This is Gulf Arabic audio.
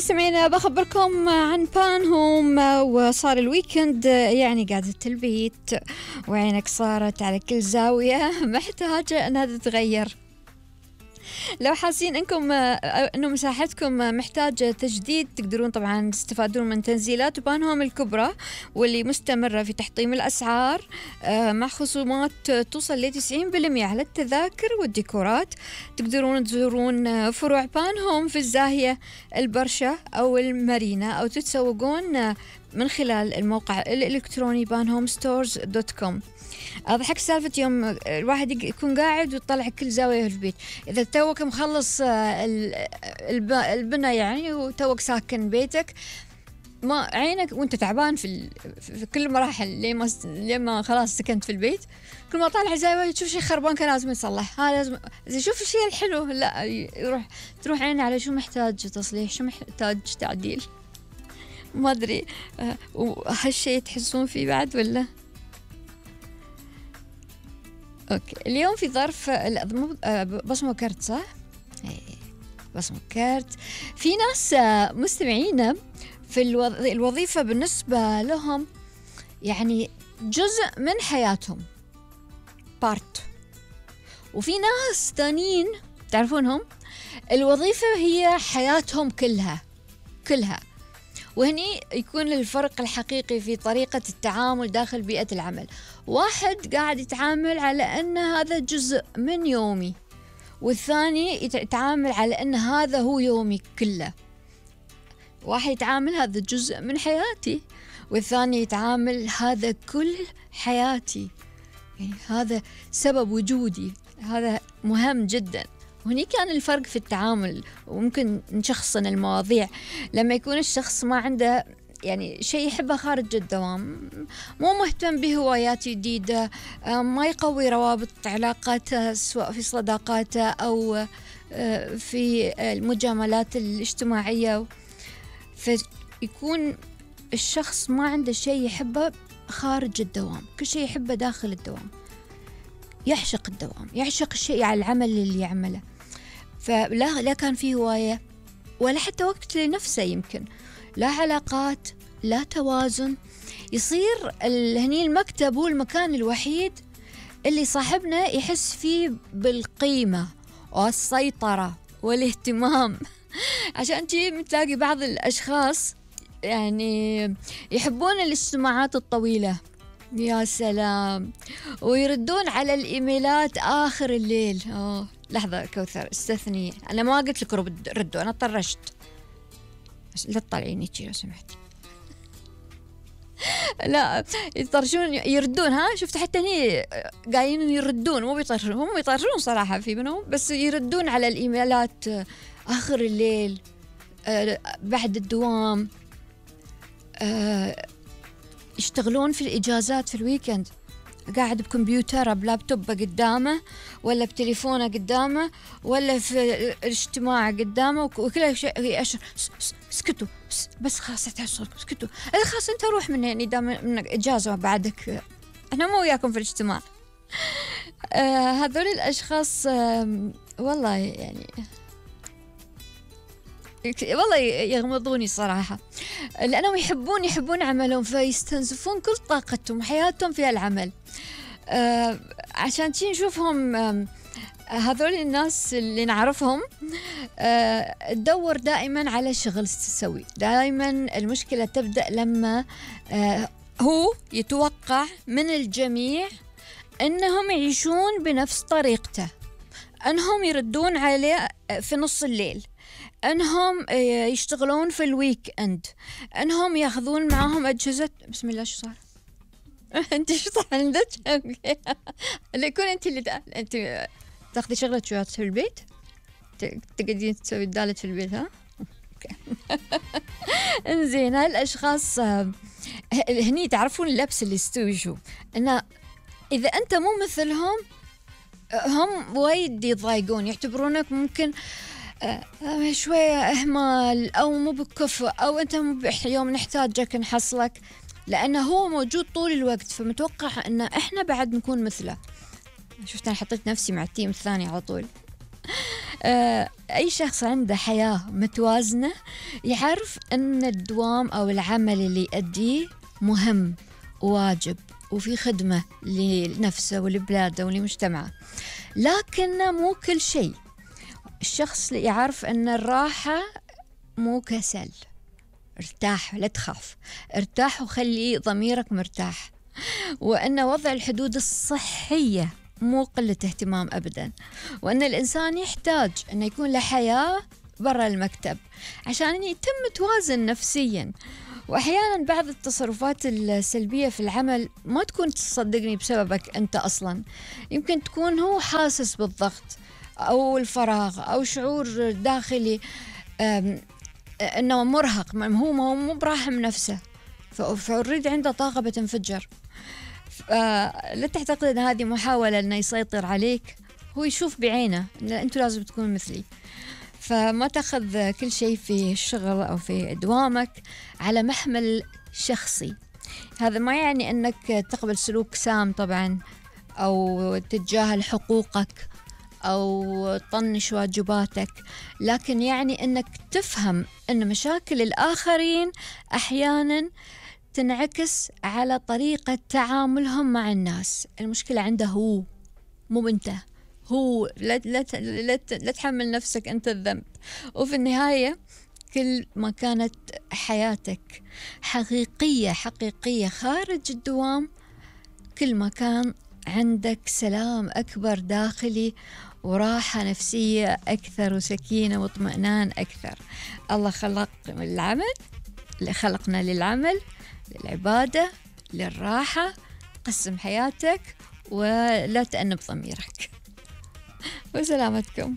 مستمعينا بخبركم عن بانهوم. وصار الويكند يعني قاعدة البيت وعينك صارت على كل زاوية محتاجة أنها تتغير. لو حاسين انه مساحتكم محتاجة تجديد تقدرون طبعا تستفادون من تنزيلات بانهوم الكبرى واللي مستمرة في تحطيم الأسعار مع خصومات توصل ل 90% على التذاكر والديكورات. تقدرون تزورون فروع بانهوم في الزاهية البرشا أو المارينا أو تتسوقون من خلال الموقع الإلكتروني banhomestores.com. أضحك سالفة يوم الواحد يكون قاعد ويطلع كل زاوية في البيت. إذا توك مخلص البناء يعني وتوك ساكن بيتك ما عينك وانت تعبان في كل مراحل لما خلاص سكنت في البيت كل ما طالع زاوية تشوف شيء خربان كان لازم يصلح. لازم شوف الشيء الحلو لا تروح عيني على شو محتاج تصليح شو محتاج تعديل. ما أدري وهالشيء تحسون فيه بعد ولا؟ أوكي اليوم في ظرف بصمة كرت صح؟ بصمة كرت. في ناس مستمعين في الوظيفة بالنسبة لهم يعني جزء من حياتهم بارت. وفي ناس ثانيين تعرفونهم الوظيفة هي حياتهم كلها. وهني يكون الفرق الحقيقي في طريقة التعامل داخل بيئة العمل. واحد قاعد يتعامل على أن هذا جزء من يومي والثاني يتعامل على أن هذا هو يومي كله. واحد يتعامل هذا جزء من حياتي والثاني يتعامل هذا كل حياتي يعني هذا سبب وجودي هذا مهم جدا. وهني كان الفرق في التعامل وممكن نشخصن المواضيع لما يكون الشخص ما عنده يعني شيء يحبه خارج الدوام مو مهتم بهوايات جديدة ما يقوي روابط علاقاته سواء في صداقاته أو في المجاملات الاجتماعية. فيكون الشخص ما عنده شيء يحبه خارج الدوام كل شيء يحبه داخل الدوام. يعشق الدوام يعشق الشيء على العمل اللي يعمله. فلا كان فيه هواية ولا حتى وقت لنفسه يمكن لا علاقات لا توازن. يصير هني المكتب هو المكان الوحيد اللي صاحبنا يحس فيه بالقيمة والسيطرة والاهتمام. عشان تلاقي بعض الأشخاص يعني يحبون الاجتماعات الطويلة يا سلام ويردون على الإيميلات آخر الليل. لحظة كوثر استثني أنا ما قلت لك ردوا أنا طرشت لا تطلعيني لو سمحتي. لا يطرشون يردون شفت حتى هني قايلين يردون مو بيطرشون هم يطرشون صراحة في منهم بس يردون على الإيميلات آخر الليل بعد الدوام يشتغلون في الإجازات في الويكند قاعد بكمبيوتره بلابتوب قدامه ولا بتليفونه قدامه ولا في الاجتماع قدامه وكل شيء أشر اسكتوا بس خلاص اسكتوا خلاص انت روح من هنا دام منك إجازة بعدك احنا مو وياكم في الاجتماع. هذول الأشخاص والله يعني والله يغمضوني صراحة لأنهم يحبون عملهم فيستنزفون كل طاقتهم وحياتهم في العمل. عشان نشوفهم هذول الناس اللي نعرفهم تدور دائما على شغل تسوي. دائما المشكلة تبدأ لما هو يتوقع من الجميع أنهم يعيشون بنفس طريقته أنهم يردون عليه في نص الليل أنهم يشتغلون في الويك أند أنهم يأخذون معهم أجهزة. بسم الله شو صار؟ أنت شو صار عندك؟ اللي يكون أنت أنت تأخذي شغلة شويات في البيت تقعدين تسوي الدالة في البيت أوكي. إنزين هالأشخاص هني تعرفون اللبس اللي يستوي شو إنه إذا أنت مو مثلهم هم وايد يضايقون يعتبرونك ممكن شوية إهمال أو مو بكفء أو أنت يوم نحتاجك نحصلك لأنه هو موجود طول الوقت فمتوقع أن إحنا بعد نكون مثله. شفت أنا حطيت نفسي مع التيم الثاني على طول. أي شخص عنده حياة متوازنة يعرف أن الدوام أو العمل اللي يؤديه مهم وواجب وفي خدمة لنفسه ولبلاده ولمجتمعه، لكن مو كل شيء. الشخص يعرف أن الراحة مو كسل. ارتاح، لا تخاف، ارتاح وخلي ضميرك مرتاح، وأن وضع الحدود الصحية مو قلة اهتمام أبدا، وأن الإنسان يحتاج أن يكون له حياة برا المكتب عشان يتم توازن نفسيا. وأحيانا بعض التصرفات السلبية في العمل ما تكون تصدقني بسببك أنت أصلا، يمكن تكون هو حاسس بالضغط أو الفراغ أو شعور داخلي أنه مرهق، هو مو براحم نفسه، فأريد عنده طاقة بتنفجر. لا تعتقد أن هذه محاولة أنه يسيطر عليك، هو يشوف بعينه أن أنتوا لازم تكون مثلي. فما تأخذ كل شيء في الشغل أو في دوامك على محمل شخصي. هذا ما يعني أنك تقبل سلوك سام طبعا، أو تتجاهل حقوقك أو تطنش واجباتك، لكن يعني أنك تفهم أن مشاكل الآخرين أحيانا تنعكس على طريقة تعاملهم مع الناس. المشكلة عنده هو، مو أنت. هو لا تحمل نفسك أنت الذنب. وفي النهاية كل ما كانت حياتك حقيقية خارج الدوام، كل ما كان عندك سلام أكبر داخلي وراحة نفسية أكثر وسكينة واطمئنان أكثر. الله خلق العمل، خلقنا للعمل، للعبادة، للراحة. قسم حياتك ولا تأنب ضميرك. وسلامتكم.